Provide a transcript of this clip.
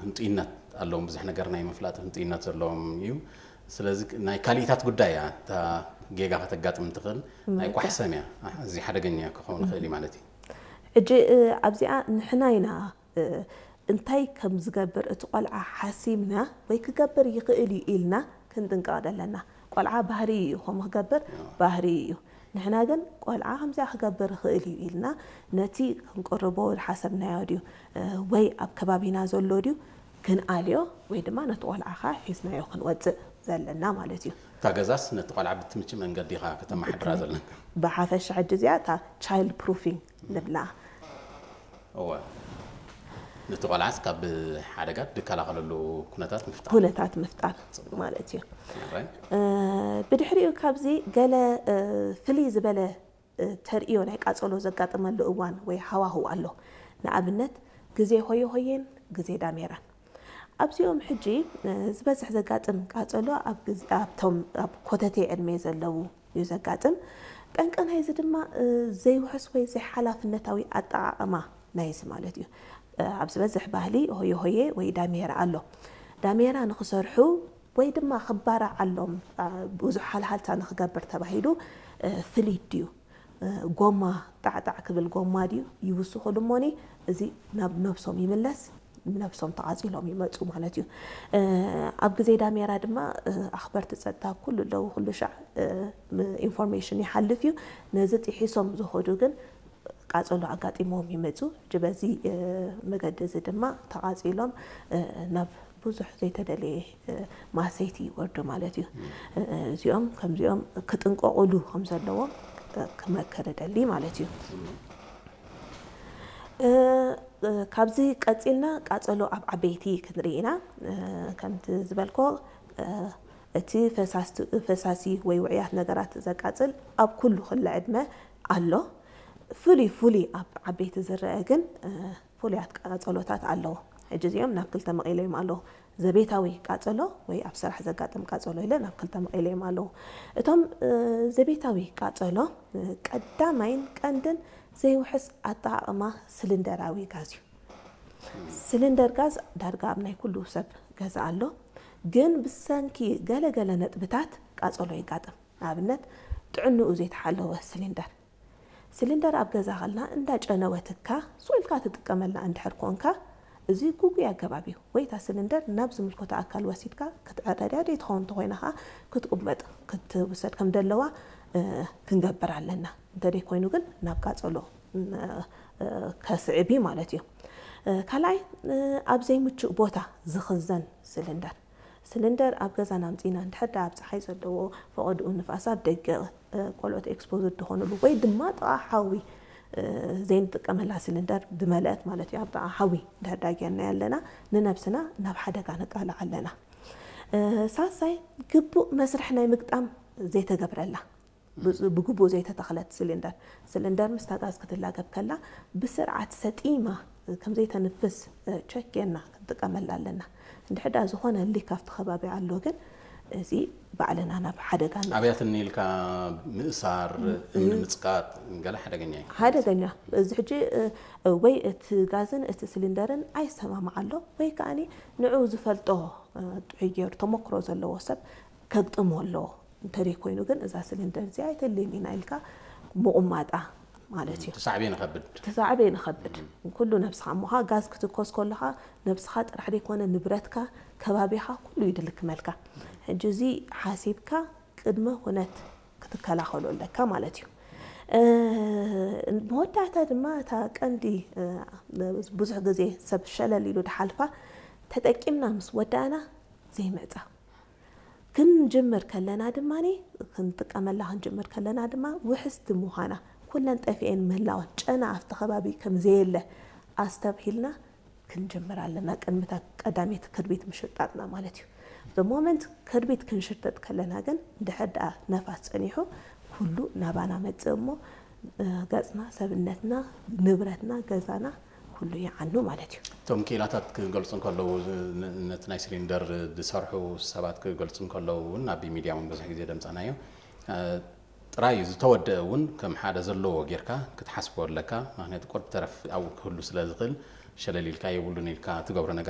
ህንጡይነት ኣለዎም፣ ብዙሕ ነገር ናይ ምፍላጥ ህንጡይነት ዘለዎም እዩ። ስለዚ ናይ ካልኢታት ጉዳይ እያ፣ እታ ጌጋ ከተጋጥም ትኽእል ናይ ቋሕሰም እያ። እዚ ሓደገኛ ክኸውን ይኽእል እዩ ማለት እዩ። ሕጂ ኣብዚኣ ንሕና ኢና እንታይ ከም ዝገብር እቲ ቆልዓ ሓሲምና ወይ ክገብር ይኽእል እዩ ኢልና ክንጥንቀቕ ዘለና። ቆልዓ ባህሪ እዩ ከምኡ ክገብር ባህሪ እዩ። ንሕና ግን ቆልዓ ከምዚኣ ክገብር ይኽእል እዩ ኢልና ነቲ ክንቅርቦ ዝሓሰብናዮ ድዩ ወይ ኣብ ከባቢና ዘሎ ድዩ ክንኣልዮ ወይ ድማ ነቲ ቆልዓ ኸዓ ሒዝናዮ ክንወፅእ ዘለና ማለት እዩ። እታ ገዛስ ነቲ ቆልዓ ብትምቺ መንገዲ ኢኻ ከተመሓድራ ዘለካ። ብሓፈሻ ሕጂ እዚኣ እታ child proofing ንብላ። እወ፣ ነቲ ቆልዓስ ካብ ሓደጋ ድከላኸለሉ ኩነታት ምፍጣር። ኩነታት ምፍጣር ማለት እዩ። ብድሕሪኡ ካብዚ ገለ ፍልይ ዝበለ ተርእዮ ናይ ቃጸሎ ዘጋጥመሉ እዋን ወይ ሃዋህው ኣሎ። ንኣብነት ግዜ ሆየ ሆየን ግዜ ዳሜራን። ኣብዚኦም ሕጂ ዝበዝሕ ዘጋጥም ቃጸሎ ኣብቶም ኣብ ኮተቴ ዕድመ ዘለዉ እዩ ዘጋጥም። ጠንቂ ናይዚ ድማ ዘይውሕስ ወይ ዘይሓላፍነታዊ ኣጠቓቕማ ናይዚ ማለት እዩ። ኣብ ዝበዝሕ ባህሊ ሆየ ሆየ ወይ ዳሜራ ኣሎ። ዳሜራ ንኽሰርሑ ወይ ድማ ክባራዓሎም ብዙሕ ሃልሃልታ ንኽገብር ተባሂሉ ፍሊድ ድዩ ጎማ ጣዕጣዕ ክብል ጎማ ድዩ ይውስኹሉ እሞኒ እዚ ናብ ነብሶም ይምለስ። ነብሶም ተቓጺሎም ይመጹ ማለት እዩ። ኣብ ግዜ ዳሜራ ድማ ኣኽበርቲ ጸጥታ ኩሉ ኣለዉ፣ ኩሉ ሻዕ ኢንፎርሜሽን ይሓልፍ እዩ። ነዚ ጥሒሶም ዝኸዱ ግን ቃጸሎ ኣጋጢሞም ይመጹ። ሕጂ በዚ መገዲ እዚ ድማ ተቓጺሎም ናብ ብዙሕ ዘይተደለየ ማሰይቲ ይወርዱ ማለት እዩ። እዚኦም ከምዚኦም ክጥንቀቑሉ ከም ዘለዎም ክመክር እደሊ ማለት እዩ። ካብዚ ቀጺልና ቃጸሎ ኣብ ዓበይቲ ክንርኢ ኢና። ከምቲ ዝበልኮ እቲ ፈሳሲ ወይ ውዕያት ነገራት ዘቃጽል ኣብ ኩሉ ክለ ዕድመ ኣሎ። ፍሉይ ፍሉይ ኣብ ዓበይቲ ዝረአ ግን ፍሉያት ቃጸሎታት ኣለዉ። ሕጂ እዚኦም ናብ ክልተ መቒለዮም ኣለዉ። ዘቤታዊ ቃጸሎ ወይ ኣብ ስራሕ ዘጋጥም ቃጸሎ ኢለ ናብ ክልተ መቒለዮም ኣለዉ። እቶም ዘቤታዊ ቃጸሎ ቀዳማይን ቀንድን ዘይውሕስ ኣጠቓቕማ ስሊንደራዊ ጋዝ እዩ። ስሊንደር ጋዝ ዳርጋ ኣብ ናይ ኩሉ ሰብ ገዛ ኣሎ። ግን ብሰንኪ ገለ ገለ ነጥብታት ቃጸሎ የጋጥም። ንኣብነት ጥዕንኡ ዘይተሓለወ ስሊንደር። ስሊንደር ኣብ ገዛ ከልና እንዳጨነወትካ ስቕ ኢልካ ትጥቀመላ እንድሕር ኮንካ እዚ ጉጉይ ኣገባብ እዩ። ወይ እታ ስሊንደር ናብ ዝምልከቶ ኣካል ወሲድካ ክትዕረድያ ደይ ትኸውን እንተኾይና ኸዓ ክትቁበጥ ክትውሰድ ከም ደለዋ ክንገብር ኣለና። እንተደይ ኮይኑ ግን ናብ ቃጸሎ ከስዕብ እዩ ማለት እዩ። ካልኣይ ኣብ ዘይምቹእ ቦታ ዝኽዘን ስሊንደር። ስሊንደር ኣብ ገዛና ኣምጺእና እንድሕር ደኣ ኣብ ጸሓይ ዘለዎ ፈቐድኡ ንፋስ ኣብ ደገ ቆልዑት ኤክስፖዝድ ዝኾኑሉ ወይ ድማ ጥቓ ሓዊ ዘይንጥቀመላ ስሊንደር ዝመልአት ማለት እዩ። ኣብ ጥቓ ሓዊ እንድሕር ደኣ ጌርናያ ኣለና ንነብስና ናብ ሓደጋ ነቃልዕ ኣለና። ሳልሳይ ግቡእ መስርሕ ናይ ምግጣም ዘይተገብረላ ብግቡእ ዘይተተኽለት ስሊንደር። ስሊንደር ምስታ ጋዝ ክትላገብ ከላ ብስርዓት ሰጢማ ከም ዘይተንፍስ ቸክ ጌርና ክንጥቀመላ ኣለና። እንድሕር ደኣ ዝኾነ ሊክ ኣብቲ ከባቢ ኣሎ ግን እዚ ባዕልና ናብ ሓደጋ ንእቱ። ኣብያትኒ ኢልካ ምእሳር፣ እምኒ ምጽቃጥ ገለ ሓደገኛ እዩ። ሓደገኛ። እዚ ሕጂ ወይ እቲ ጋዝን እቲ ስሊንደርን ኣይሰማማዕ ኣሎ ወይ ከኣ ንዑ ዝፈልጦ ጥዑይ ገይሩ ተመክሮ ዘለዎ ሰብ ከግጥሞ ኣለዎ። እንተደይ ኮይኑ ግን እዛ ስሊንደር እዚኣ ኣይተልይን ኢና ኢልካ ምቑማጣ ማለት እዩ። ተሳዕቤን ይኸብድ። ተሳዕቤን ይኸብድ። ኩሉ ነብስኻ እሞ ኸዓ ጋዝ ክትኮስ ከለኻ ነብስኻ ጥራሕ ደይኮነ ንብረትካ ከባቢኻ ኩሉ ይድልክመልካ። ሕጂ እዚ ሓሲብካ ቅድመ ኩነት ክትከላኸሎ ኣለካ ማለት እዩ። መወዳእታ ድማ እታ ቀንዲ ብዙሕ ግዜ ሰብ ሸለል ኢሉ ድሓልፋ ተጠቂምና ምስ ወዳእና ዘይምዕጻው። ክንጅምር ከለና ድማ ክንጥቀመላ ክንጅምር ከለና ድማ ውሕስቲ ምዃና ኩለን ጠፊኤን ምህላወን ጨና ኣብቲ ከባቢ ከም ዘየለ ኣስተብሂልና ክንጅምር ኣለና። ቅድሚታ ቀዳሜት ክርቢት ምሽርጣጥና ማለት እዩ። The moment ክርቢት ክንሽርጠጥ ከለና ግን ድሕር ደኣ ነፋስ ጸኒሑ ኩሉ ናባና መጽእ እሞ ገጽና፣ ሰብነትና፣ ንብረትና፣ ገዛና ኩሉ ይዓኑ ማለት እዩ። እቶም ክኢላታት ክገልጹ እንከለዉ ነቲ ናይ ሲሊንደር ዝሰርሑ ሰባት ክገልጹ እንከለዉ እውን ኣብ ሚድያ እውን ብዙሕ ግዜ ደምጻናዮ ጥራይ እዩ ዝተወደአ እውን ከም ሓደ ዘለዎ ጌርካ ክትሓስቦ ኣለካ። ምክንያቱ ቁርብ ተረፍ ኣብኡ ክህሉ ስለ ዝኽእል ሸለል ኢልካ የብሉን ኢልካ ትገብሮ ነገር